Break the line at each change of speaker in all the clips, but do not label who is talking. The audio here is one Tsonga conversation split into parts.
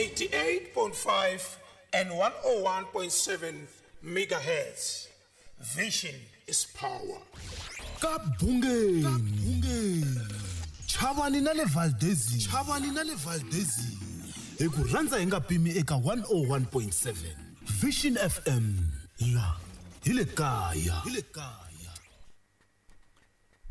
88.5 and 101.7 megahertz. Vision is power.
Ka Bungeni, Chavani na le Valdezini, Chavani na le Valdezini, hi ku rhandza hi nga pimi eka 101.7 Vision FM, la hi le kaya, hi le kaya.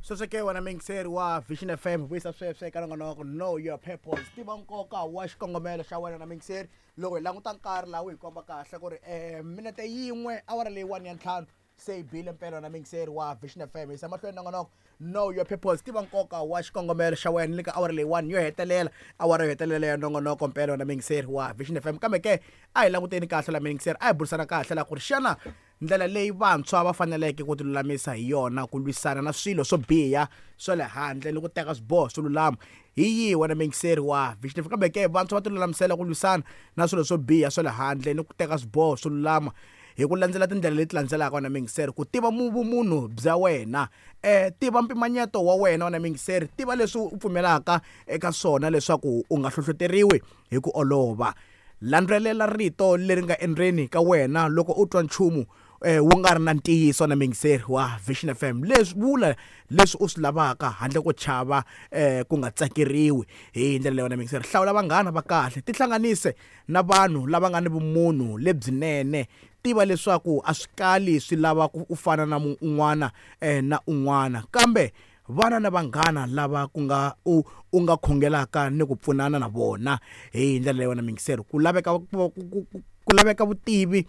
Sweswo ke wena muyingiseri wa Vision FM, vuyisa sweswo eka nongonoko Know Your Purpose, tiva nkoka wa xikongomelo xa wena. Na muyingiseri, loko hi languta nkarhi laha wu hi komba kahle ku ri minete yin'we awara leyiwani ya ntlhanu se yi bile mpela. Na muyingiseri wa Vision FM, yisa mahlweni nongonoko Know Your Purpose, tiva nkoka wa xikongomelo xa wena, ni le ka awara leyiwani yo hetelela, awara yo hetelela ya nongonoko mpela. Na muyingiseri wa Vision FM, kambe ke a hi languteni kahle la muyingiseri, a hi burisana kahle la ku ri xana ndlela leyi vantshwa va faneleke ku tilulamisa hi yona ku lwisana na swilo swo biha swa le handle ni ku teka swiboho swo lulama hi yihi, wena muyingiseri wa Vision FM? Kambe ke vantshwa va tilulamisela ku lwisana na swilo swo biha swa le handle ni ku teka swiboho swo lulama hi ku landzela tindlela leti landzelaka, wena muyingiseri. Ku tiva vumunhu bya wena, tiva mpimanyeto wa wena, wena muyingiseri, tiva leswi u pfumelaka eka swona leswaku u nga hlohloteriwi hi ku olova. Landzelela rito leri nga endzeni ka wena loko u twa nchumu wu nga ri na ntiyiso. Na muyingiseri wa Vision FM, leswi vula leswi u swi lavaka handle ko chava ku nga tsakeriwi. Hi ndlela leyi, wena muyingiseri, hlawula vanghana va kahle, tihlanganise na vanhu lava nga ni vumunhu lebyinene. Tiva leswaku a swi kali swi lava ku u fana na un'wana na un'wana, kambe vana na vanghana lava ku nga u u nga khongelaka ni ku pfunana na vona. Hi ndlela leyi, wena muyingiseri, ku laveka vutivi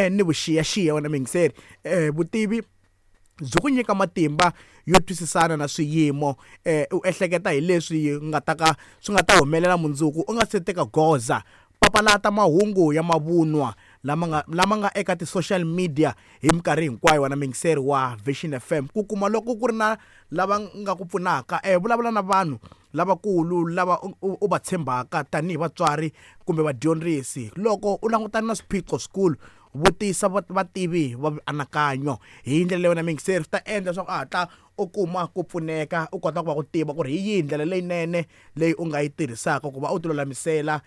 ni vuxiyaxiya. Wena muyingiseri, vutivi byi ku nyika matimba yo twisisana na swiyimo, u ehleketa hi leswi nga ta ka swi nga ta humelela mundzuku u nga se teka goza. Papalata mahungu ya mavunwa lama nga eka ti-social media hi minkarhi hinkwayo, wena muyingiseri wa Vision FM. Ku kuma loko ku ri na lava nga ku pfunaka, vulavula na vanhu lavakulu lava u va tshembaka tanihi vatswari kumbe vadyondzisi. Loko u langutana na swiphiqo swikulu, vutisa vativi va mianakanyo. Hi ndlela leyi, wena muyingiseri, swi ta endla leswaku a hatla u kuma ku pfuneka, u kota ku va ku tiva ku ri hi yihi ndlela leyinene leyi u nga yi tirhisaka ku va u tilulamisela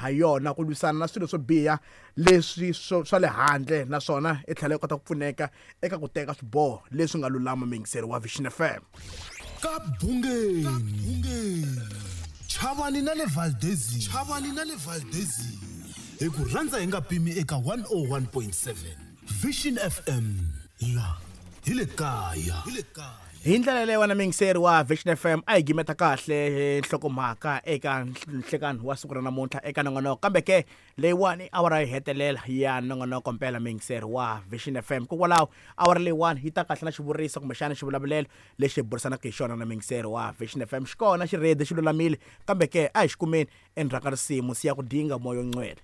ha yona ku lwisana na swilo swo biha leswi swa le handle, naswona i tlhela i kota ku pfuneka eka ku teka swiboho leswi nga lulama, muyingiseri wa Vision FM.
Ka Bungeni, Chavani na le Valdezini, Chavani na le Valdezini, hi ku rhandza hi nga pimi eka 101.7 Vision FM, la hi le kaya, hi le kaya.
Hi ndlela leyi, wena muyingiseri wa Vision FM, a hi gimeta kahle nhlokomhaka eka nhlekani wa siku ra namuntlha eka nongonoko. Kambe ke leyiwani awara yi hetelela ya nongonoko mpela, muyingiseri wa Vision FM. Kokwalaho awara leyiwani yi ta kahle na xivuriso kumbexana xivulavulelo lexi hi burisanaka hi xona. Na muyingiseri wa Vision FM, xi kona, xi ready, xi lulamile, kambe ke a hi xi kumeni endzhaku ka risimu Siya ku Dinga Moya Ongcwele.